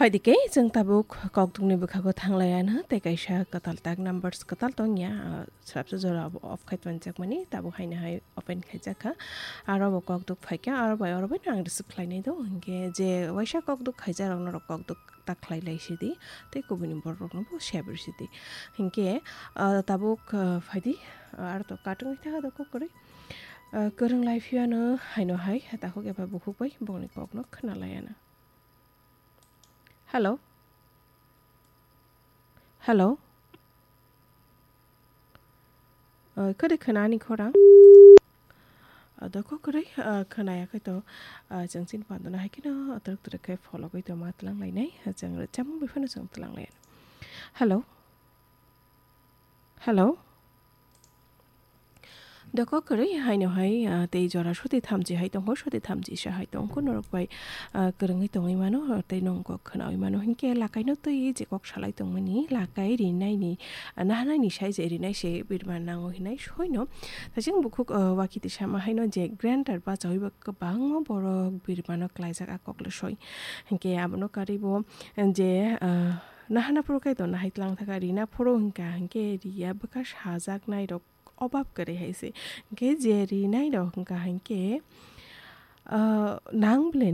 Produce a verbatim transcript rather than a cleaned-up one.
Phaidi khe chwng tabuk kokdukni bwkhago thanglaiya no tei kaisa kwtal tak numbers kwtal tongya, ah, swrapsa jora bo off khai tonjakmani tabuk haino hai open khaijakha. Aro bo kokduk phaikha, aro bai oro bai no ang receive khlainai do, hinkhe je waisa kokduk khaijarok norok kokduk ta khlai lai sidi tei kubuni bororokno bo share bai sidi. Hinkhe, ah, tabuk, ah, phaidi, ah, aro to katung wngkha do kok kwrwi. Ah, kwrwng lai phiyano haino hai takhuk eba bukhuk bai bongni kokno khna laiya no. Hello? Hello? Ah, kwrwi khna ani khorang? Ah, doko kwrwi, ah, khna ya khe to, ah, chwng chini pandona hai kheno twrwk twrwk khe fologwi tongma twlang lainai. Ah, chwng rwchapmung bai phano chwng twlang lai. Hello? Hello? Doko kwrwi haino hai, ah, tei jora soti thamchi hai tongo, soti thamchi sa hai tongo, norok bai, ah, kwrwngwi tongwi mano, tei nwng kok khnawi mano, hinkhe lakaino twi je kok salai tongmani, lakai rinaini, ah, nahanaini sai je rinai se birma nango hinai soino. Tei chwng bukhuk, ah, wakiti sama haino je grinder bachawi bo kwbangma borok birmano klaijak a kokle soi. Hinkhe abono karwi bo je, ah, nahana phuru kaitor nahai tlang thaka rina phuru hinkha hinkhe riya bwkha sajaknai rok obab kwrwi hai se. Hinkhe je rinai rok hinkha hinkhe, ah, nang bwle